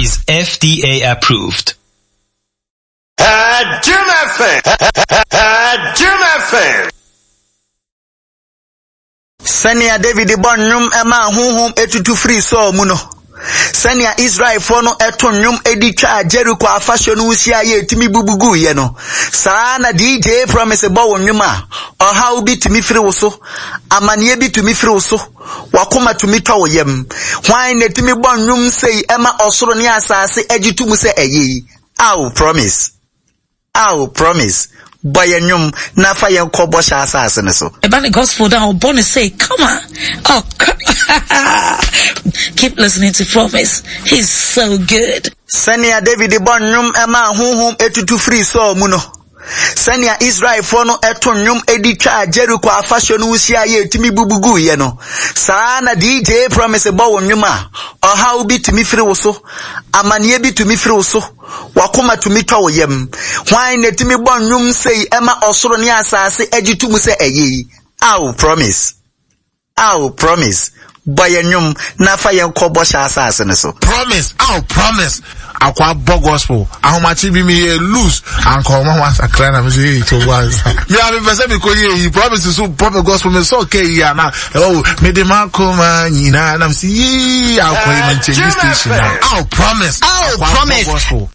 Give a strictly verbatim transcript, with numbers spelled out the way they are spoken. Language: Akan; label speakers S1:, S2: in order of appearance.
S1: is F D A approved.
S2: Jim F M. Jim F M.
S3: Sɛnea David bɔ nnwom ɛma honhom etutu firi Saul mu no, sɛnea Israelfoɔ no ɛto nnwom edi twa Jericho afahyɛ no hyia yɛ etumi bubu guiɛ no, saa na D J Promise bɔ wo nnwom a, ɔhaw bi tumi firi wo so, amanneɛ bi tumi firi wo so, wakoma tumi tɔ wo yam. Hwan na etumi bɔ nnwom sei ɛma ɔsoro ne asase agye to mu sɛ ɛyɛ yi? Aw, Promise. Aw, Promise. Bɔ yɛn nnwom na fa yɛn kɔ bɔhyɛ asase no so.
S4: Ɛba ne gospel da ɔbɔ ne sɛ, come on. Oh, keep listening to Promise. He's so good.
S3: Sɛnea David bɔ nnwom ɛma honhom etutu firi Saul mu no, sɛnea Israelfoɔ no ɛto nnwom edi twa Jericho afahyɛ no hyia yɛ etumi bubu guiɛ no, saa na D J Promise bɔ wo nnwom a, ɔhaw bi tumi firi wo so, amanneɛ bi tumi firi wo so, wakoma tumi tɔ wo yam. Hwan na etumi bɔ nnwom sei ɛma ɔsoro ne asase agye to mu sɛ ɛyɛ yi? Aw, Promise. Aw, Promise. Bɔ yɛn nnwom na fa yɛn kɔ bɔhyɛ asase no so.
S5: Promise, aw, Promise. Akwa bɔ gospel. Ahomakye bi mi yɛ loose. Anka ɔmo ho asakra na mi sɛ hey to wansa. Mi a mi pɛ sɛ mi kɔ yɛ yi. Promise so pɔ gospel mi sɔ kɛ yi ana. Oh, mi de ma koma nyinaa na mi sɛ yee akɔ yi mi nkyɛn station na. Aw, Promise.
S3: Aw,
S5: Akwa bɔ
S3: Promise.
S5: gospel.